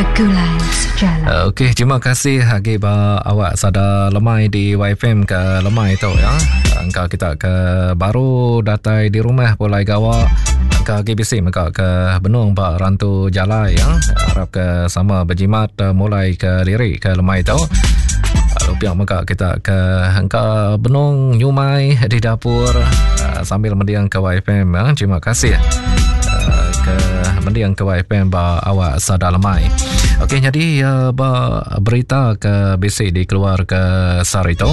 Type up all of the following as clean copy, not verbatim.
Begulai sejalai. Okey, terima kasih agi ba awak sada lemai di YFM ke lemai tu ya. Engka kita ke baru datai di rumah pulai gawa. Engka agi bisi mega ke benung ba rantu jalai ya. Harap ke sama berjimat eh, mulai ke diri ke lemai tu. Lalu pihak mega kita ke engka benung nyumai di dapur eh, sambil mendiang ke YFM ya. Terima kasih eh, ke mendiang ke YFM ba awak sada lemai. Okey jadi uh, ba berita ke bisi dikeluar ke sehari tu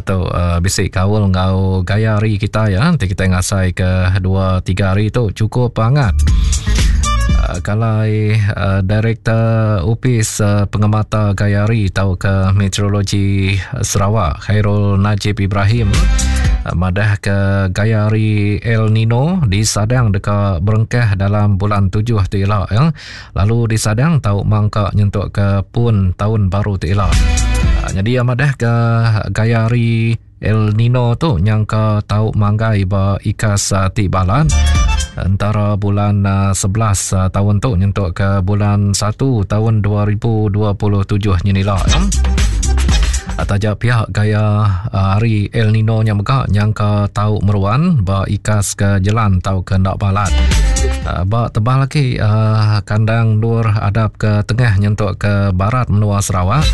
tu uh, bisi kaul enggau gaya hari kita ya. Nanti kita ngasai ke 2 3 hari tu cukup hangat. Uh, kalau uh, Direktor Opis uh, Pengemata Gaya Hari tau ke Meteorologi Sarawak Khairul Najib Ibrahim uh, madah ke gaya hari El Nino disadang deka berengkah dalam bulan 7 tu ila ya. Lalu disadang tau mangka nyentuk ke pun tahun baru tu ila. Uh, jadi madah ke gaya hari El Nino tu nyangka tau manggai ba ikas uh, ti balat antara bulan uh, 11 uh, tahun tu nyentuk ke bulan 1 tahun 2027 nyenila. Ya. Taja pihak gaya hari El Nino nya mega nyangka tau meruan ba ikas ke jelan tau ke enda balat. Ba tebal agi kandang endur adap ke tengah nyentuk ke barat menua Sarawak.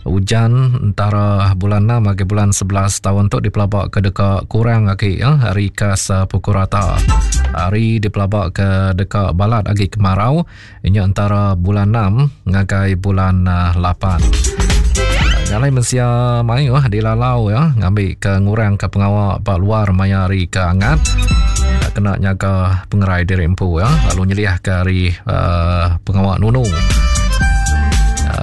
Ujan entara bulan 6 agi bulan 11 taun tu dipelaba ke deka kurang agi ya, ari ikas pukul rata. Hari dipelaba ke deka balat agi kemarau Inya entara bulan 6 ngagai bulan 8. Nyalai mensia mayuh dilalau ya ngambi ke ngurang ke pengawa ba luar maya hari ke angat kena nyaga pengerai diri empu ya lalu nyeliah ke hari uh, pengawa nunu.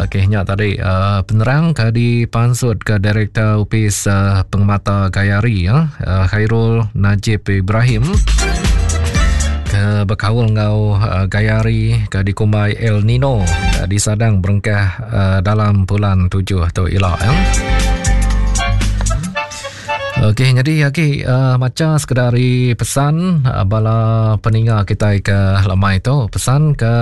Okey nya tadi uh, penerang ke dipansut ke Direktor Opis uh, Pengemata Gaya Hari ya uh, Khairul Najib Ibrahim ke bekaul enggau uh, gaya hari ke dikumbai El Nino uh, disadang berengkah uh, dalam bulan 7 tu ila ya. Okey, jadi lagi uh, maca sekedar ari pesan uh, bala peninga kita ke lemai tu. Pesan ke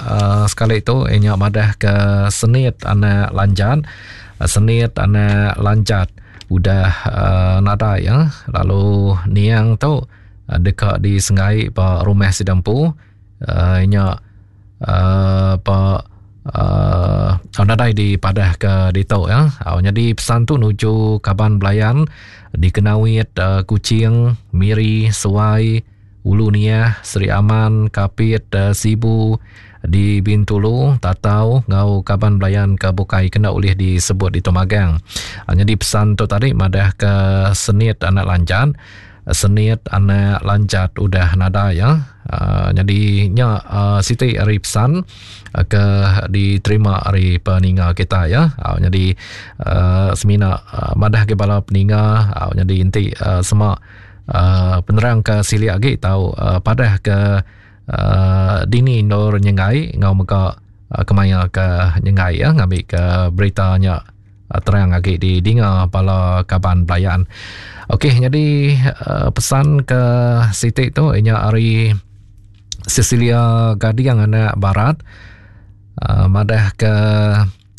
uh, sekali tu inya madah ke senit anak lanjat, uh, senit anak lanjat udah uh, nadai ya. Lalu niang tu deka disenggai ba rumah sida empu uh, nya uh, ba uh, nadai dipadah ke ditu ya. Uh, jadi pesan tu nuju kaban belayan di Kenawit, uh, Kuching, Miri, Suai, Ulu Niah, Seri Aman, Kapit, uh, Sibu, di Bintulu, Tatau enggau kaban belayan ke bukai kena ulih disebut di Magang. Jadi pesan tu tadi madah ke senit anak lanjat Senit anak lanjat udah nadai ya. Uh, jadi nya uh, siti ari pesan uh, ke diterima ari peninga kita ya. Uh, jadi uh, semina uh, madah ke bala peninga uh, jadi inti uh, sema uh, penerang ke silik agi tau uh, padah ke uh, dini endur nyengai enggau mega uh, kemaya ke nyengai ya ngambi ke berita nya terang agi didinga bala kaban belayan. Okey, jadi uh, pesan ke siti tu inya ari Cecilia Gading anak Barat uh, madah ke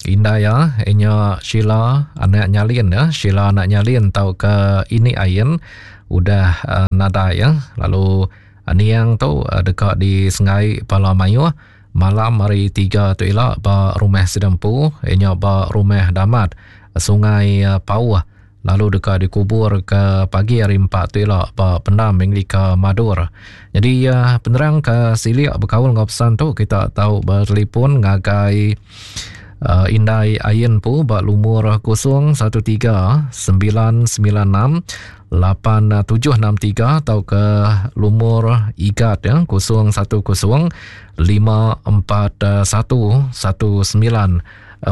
indai ya inya Sheila anak Nyalin ya Sheila anak Nyalin tau ke ini ain udah uh, nadai ya lalu uh, niang tu uh, deka disengai bala mayuh Malam hari tiga tu ila ba rumah sida empu iya nya ba Rumah Damat, Sungai Pauh lalu deka dikubur ke pagi hari empat tu ila ba Pendam Anglika Madur. Nyadi penerang ke silik bekaul enggau pesan tu kita tau betelefon ngagai Indai Ayen empu ba lumur 03 996 8763 tauka lumur igat ya 010 541 1945.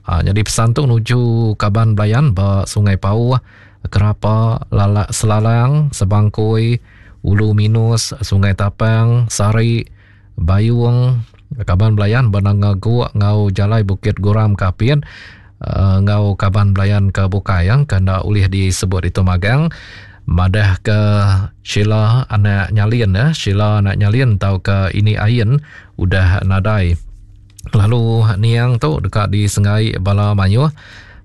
Ha, jadi pesan tu nuju kaban belayan ba Sungai Pauh, Kerapa, Lalak Selalang, Sebangkoi, Ulu Minus, Sungai Tapang, Sari, Bayung, kaban belayan ba Nanga Guk enggau Jalai Bukit Guram Kapit uh, enggau kaban belayan ke bukai yang ke enda ulih disebut itu magang madah ke Sheila anak Nyalin ya Sheila anak Nyalin tauka ini Ain udah nadai. Lalu niang tu deka disenggai bala mayuh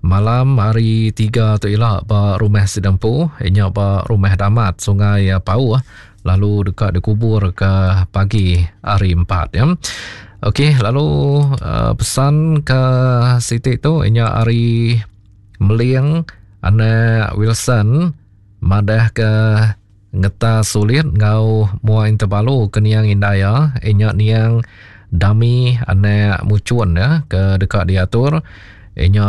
malam hari 3 tu ila ba rumah sida empu inya ba Rumah Damat Sungai Pauh lalu deka dikubur ke pagi hari 4 ya. Okey lalu uh, pesan ke siti tu inya hari Meling anak Wilson madah ke Ngeta sulit enggau mua Interbalu ke niang indai iya, iya nya niang Dami anak Muchun ya ke deka diatur iya nya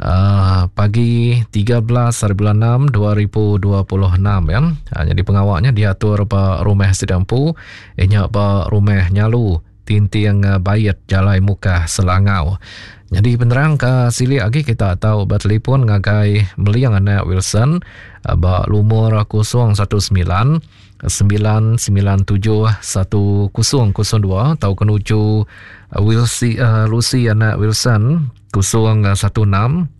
uh, pagi 13 hari bulan 6 2026 ya. Uh, jadi pengawa nya diatur ba rumah sida empu iya nya ba rumah Nyalu Tinting Bait Jalai Mukah Selangau. Nyadi penerang ke silik agi kita tau betelefon ngagai Meling anak Wilson ba lumur 019 997 1002 tauka nuju Wilsi, uh, Lucy anak Wilson 016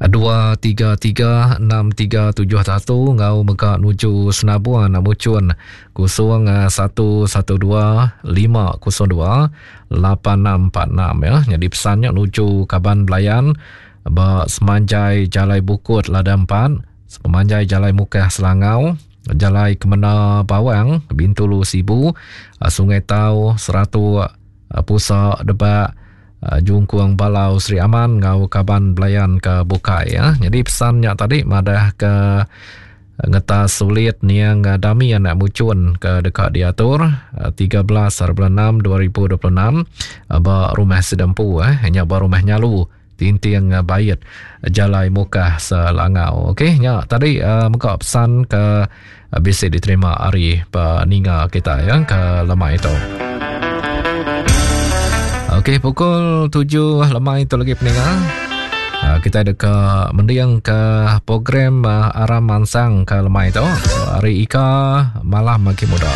233 6371 enggau mega nuju Senabuan Muchun 0112 502 8646 ya. Jadi pesan nya nuju kaban belayan ba semanjai Jalai Bukut Ladang 4, sepemanjai Jalai Mukah Selangau, Jalai Kemena Bawang, Bintulu Sibu, Sungai Tau, Seratuk, Pusa Debak, Jungkung Balau Sri Aman enggau kaban belayan ke bukai ya. Jadi pesan nya tadi madah ke ngetas sulit niang Dami anak Muchun ke deka diatur 13 hari bulan 6 2026 ba rumah Sedempu eh nya ba rumah Nyalu Tinting Bait Jalai Mukah Selangau. Okey nya tadi uh, mega pesan ke bisi diterima ari peninga kita ya ke lemai itu. Okey pukul 7 lemai itu lagi peninga. Ah, kita deka mending ke program ah, Aram Mansang ke lemai itu. Hari Ika malam makin muda.